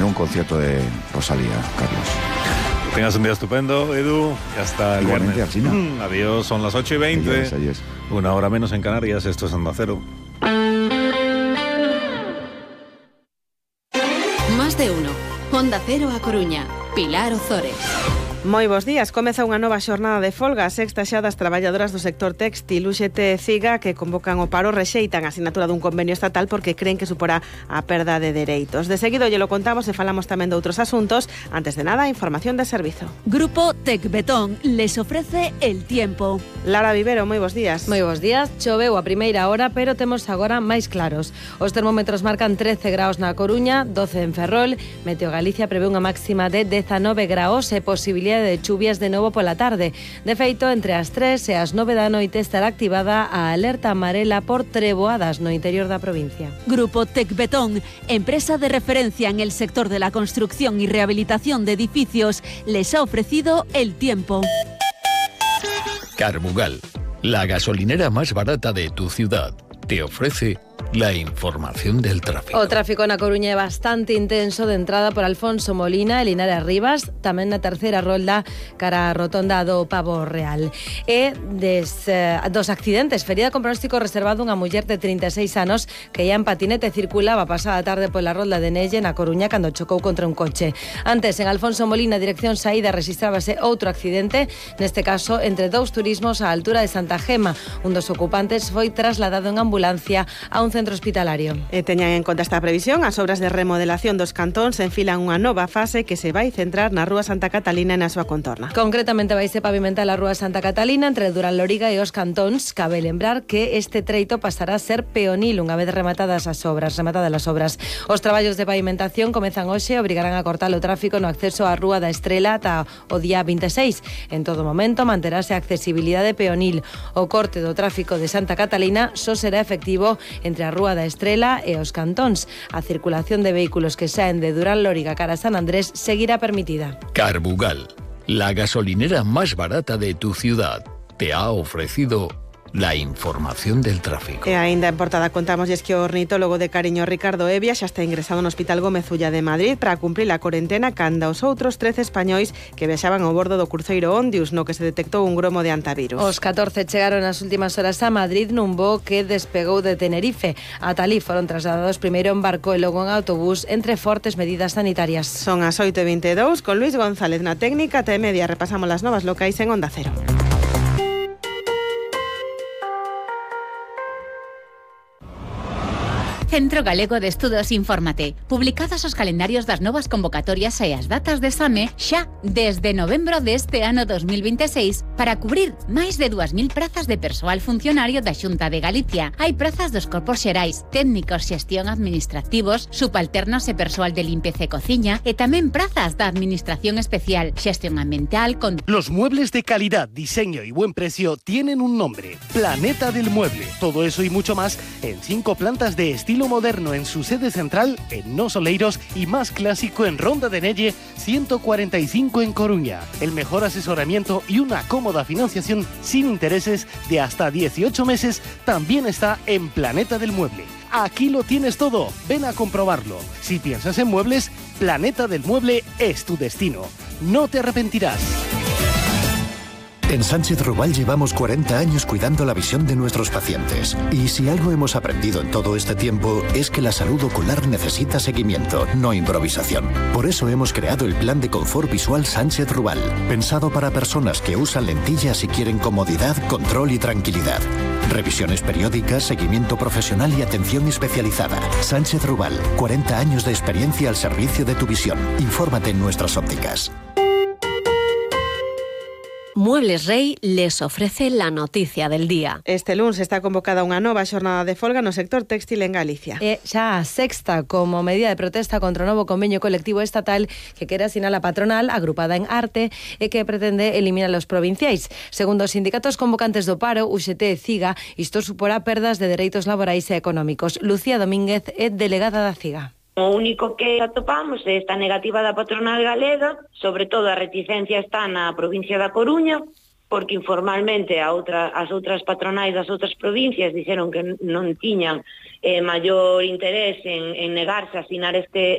en un concierto de Rosalía, Carlos. Tengas un día estupendo, Edu, y hasta el Igualmente, viernes. Adiós, son las 8:20. Adiós. Una hora menos en Canarias, esto es Onda Cero. Más de uno. Onda Cero A Coruña. Pilar Ozores. Moi bons días. Comeza unha nova xornada de folga. A sexta xa das traballadoras do sector textil UGT e CIGA, que convocan o paro, rexeitan a asinatura dun convenio estatal porque creen que suporá a perda de dereitos. De seguido lle lo contamos e falamos tamén de outros asuntos. Antes de nada, información de servizo. Grupo Tecbetón les ofrece el tiempo. Lara Vivero, moi bons días. Moi bons días. Choveu a primeira hora, pero temos agora máis claros. Os termómetros marcan 13 graus na Coruña, 12 en Ferrol. Meteo Galicia prevé unha máxima de 19 graus e posibilidade de chuvias de novo pola tarde. De feito, entre as 3 e as 9 da noite estará activada a alerta amarela por treboadas no interior da provincia. Grupo Tecbetón, empresa de referencia en el sector de la construcción y rehabilitación de edificios, les ha ofrecido el tiempo. Carbugal, la gasolinera más barata de tu ciudad, te ofrece la información del tráfico. O tráfico na Coruña é bastante intenso de entrada por Alfonso Molina e Linares Rivas, tamén na terceira rolda cara a rotonda do Pavo Real. E dos accidentes, ferida con pronóstico reservado unha muller de 36 anos que ia en patinete circulaba pasada tarde pola rolda de Nelle na Coruña cando chocou contra un coche. Antes, en Alfonso Molina, dirección saída, registrábase outro accidente, neste caso entre dous turismos á altura de Santa Gema. Un dos ocupantes foi trasladado en ambulancia a un centro hospitalario. E teñan en conta esta previsión, as obras de remodelación dos cantóns enfilan unha nova fase que se vai centrar na Rúa Santa Catalina e na súa contorna. Concretamente vaise pavimentar a Rúa Santa Catalina entre Durán Loriga e os cantóns. Cabe lembrar que este treito pasará a ser peonil unha vez rematadas as obras. Os traballos de pavimentación comezan hoxe e obrigarán a cortar o tráfico no acceso á Rúa da Estrela ata o día 26. En todo momento manterase a accesibilidade peonil. O corte do tráfico de Santa Catalina só será efectivo entre a Rúa da Estrela e os cantóns. A circulación de vehículos que saen de Durán Lóriga cara a San Andrés seguirá permitida. Carbugal, la gasolinera más barata de tu ciudad, te ha ofrecido la información del tráfico. E aínda en portada contámoslles que o ornitólogo de Cariño, Ricardo Evia, xa está ingresado no Hospital Gómez Ulla de Madrid para cumprir a corentena canda os outros 13 españois que viaxaban ao bordo do cruceiro Ondius, no que se detectou un gromo de antivirus. Os 14 chegaron nas últimas horas a Madrid nun voo que despegou de Tenerife. Ata alí foron trasladados primeiro en barco e logo en autobús entre fortes medidas sanitarias. Son as 8:22, con Luis González na técnica. Ata e media repasamos las novas locais en Onda Cero. Centro Galego de Estudos Infórmate. Publicados os calendarios das novas convocatorias e as datas de exame xa desde novembro deste ano 2026 para cubrir máis de 2.000 prazas de persoal funcionario da Xunta de Galicia. Hai prazas dos corpos xerais, técnicos, xestión administrativos, subalternos e persoal de limpeza e cociña e tamén prazas da Administración Especial, xestión ambiental con... Los muebles de calidad, diseño y buen precio tienen un nombre: Planeta del Mueble. Todo eso y mucho más en 5 plantas de estilo moderno en su sede central en Nos Oleiros y más clásico en Ronda de Nelle 145 en Coruña. El mejor asesoramiento y una cómoda financiación sin intereses de hasta 18 meses también está en Planeta del Mueble. Aquí lo tienes todo, ven a comprobarlo. Si piensas en muebles, Planeta del Mueble es tu destino. No te arrepentirás. En Sánchez Rubal llevamos 40 años cuidando la visión de nuestros pacientes. Y si algo hemos aprendido en todo este tiempo es que la salud ocular necesita seguimiento, no improvisación. Por eso hemos creado el Plan de Confort Visual Sánchez Rubal, pensado para personas que usan lentillas y quieren comodidad, control y tranquilidad. Revisiones periódicas, seguimiento profesional y atención especializada. Sánchez Rubal, 40 años de experiencia al servicio de tu visión. Infórmate en nuestras ópticas. Muebles Rey les ofrece la noticia del día. Este lunes está convocada unha nova xornada de folga no sector textil en Galicia. É xa a sexta como medida de protesta contra o novo convenio colectivo estatal que quere asinar a patronal agrupada en Arte e que pretende eliminar os provinciais. Segundo os sindicatos convocantes do paro, UGT e CIGA, isto suporá perdas de dereitos laborais e económicos. Lucía Domínguez é delegada da CIGA. O único que atopamos é esta negativa da patronal galega, sobre todo a reticencia está na provincia da Coruña, porque informalmente as outras patronais das outras provincias dixeron que non tiñan maior interés en negarse a asinar este